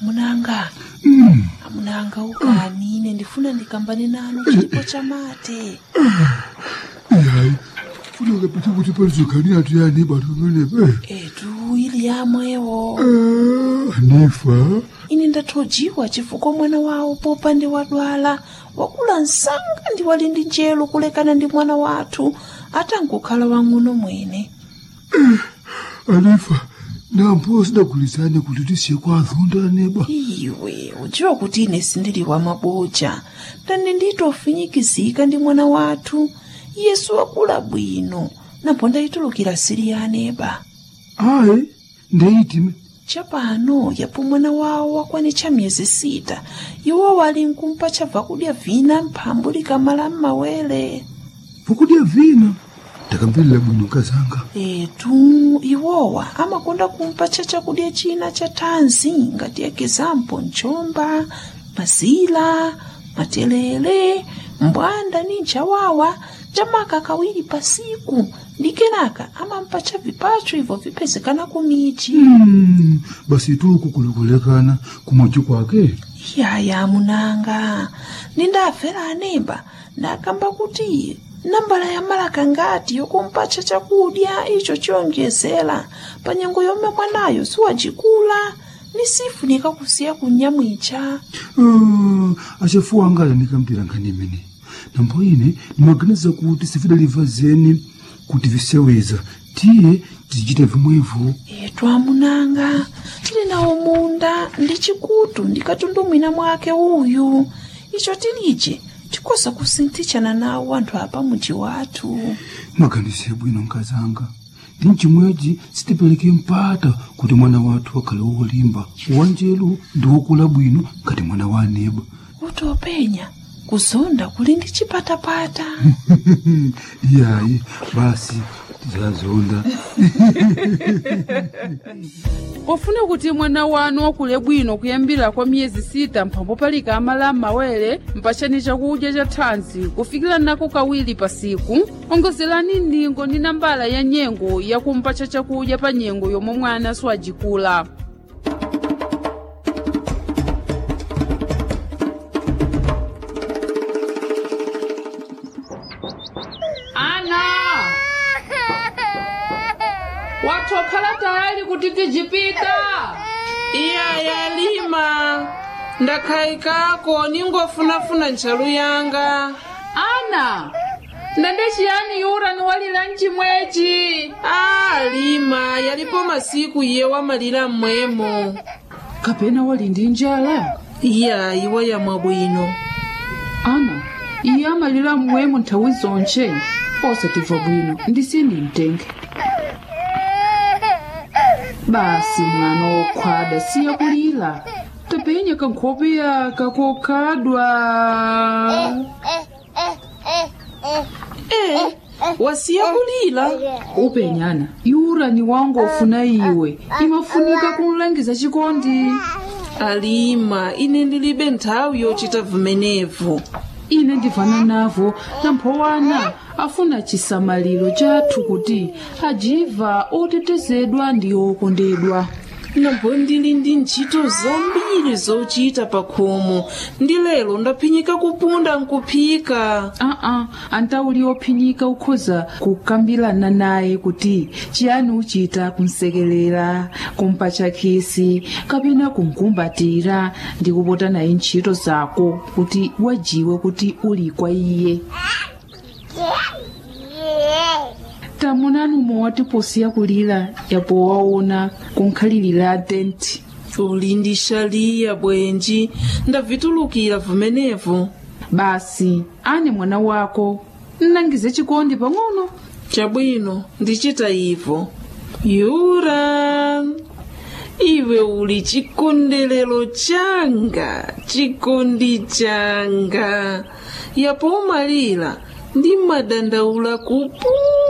Amunanga, amunanga ukani ine ndifuna ndikambane nanu chipo chamate. Ihayi, funeka phethe ukuthi palizogani yathu yani bantu bene. Etu ili yamwewo Nifa. Ine ndathojiwa chifukwa mwana wawo popande wadwala wakula msanga ndi wali ndi njelo kulekana ndi mwana wathu atangokhala wang'ono mwene. Anifa, nampo sidagulizane kuti tisiye kwa azonda neba. Iwe udziwa kuti ine sindili wa maboja ndani nditofinyikizika ndi mwana wathu Yesu wakula bwino napo ndayitulukira sili ya aneba. Ayi, ndeyitime. Chapano yapo mwana wawo wakwanitcha miyezi 6, iwo wali nkumpa chabva kudya vina mphambu likamala m'mawere. Vakudya vina ndakamvelera bwino kazanga. Etu iwowa amakonda kumpatcha chakudya china cha thanzi ngati ekizampo mchomba, mazila, matelele, mbwanda ni nchawawa chamaka kawiri pasiku ndi kenaka amampatcha vipacho ibvo vipezekana kumichi. Basi tuku kulikulekana kumochi kwake. Yaya munanga, nindafera anemba ndakamba kuti nambala ya malaka ngati yokumpatcha chakudya icho chiyonjezera pa nyengo yomwe mwanayo siwacikula ni sifunika kusiya kunyamwicha. Ah, achafuwa angala nikamvera nkhani imene. Nambo ine ndimaganiza kuti sifidaliva zeni kuti viseweza tiye tizichita vimwevo. Etu amunanga, tili nawo munda ndi chikutu ndi katundu mwina mwake uyu icho tilije tikoza kusinthitshana nawo anthu apa muji wathu. Maganize bwino nkazanga, ndi mchimwechi sitipereke mpata kuti mwana wathu akhale wolimba, wanjelu ndi wokula bwino ngati mwana wa aneba. Kuti openya kuzonda kuli ndi chipatapata. Iyayi, basi tizazonda. Pofuna kuti mwana wanu wakule bwino kuyambira kwa miyezi 6 mphambo palika amala m'mawere, mpatseni chakudya cha thanzi kufikira nako kawiri pa siku, ongozerani ndingo ndi nambala ya nyengo yakumpatsa chakudya pa nyengo yomwe mwana siwajikula. Ana, watokhala tayali kuti tijipita? Iya yalima, ndakhaikako ningofunafuna ntchalu yanga. Ana, ndande chiyani yura niwalira mchimwechi? A lima, yalipo masiku iye wamalira mmwemo. Kapena wali ndi njala? Iya iwa yamwa bwino. Ana, iye amalira mmwemo nthawi zonche, osatimva bwino ndisindi mtenge. Basi mwana wokhwada, siya kulira, tapenya kankhope yaka kokhadwa. E, wasiya kulira. Upenyana yura ni wangu ofuna iwe imafunika kumlangiza chikondi. Alima, ine ndilibe nthawi yochita vumenevu. Ine ndivana navo, namphowana afuna chisamaliro chathu kuti ajiva otetezedwa ndi okondedwa. Nambo ndili ndi ntchito zambiri zochita pa khomo, ndi lero ndaphinyika kupunda nkuphika. Aa, antauli ophinyika ukhoza kukambirana naye kuti chiyani uchita kumsekelera, kumpatcha khisi kapena kumkumbatira ndi kupota naye ntchito zako kuti wajiwe kuti uli kwa iye. Tamunani umwe watiposiya kulira yapo waona kunkhalirira tenti. Uli ndi xaliya bwenji, ndavitulukira vumenevu. Basi ane mwana wako nnangize chikondi pang'ono. Chabwino, ndichita ivo. Yura, iwe uli chikondelero changa, chikondi changa. Yapo umalira ndi madandaula kupunda.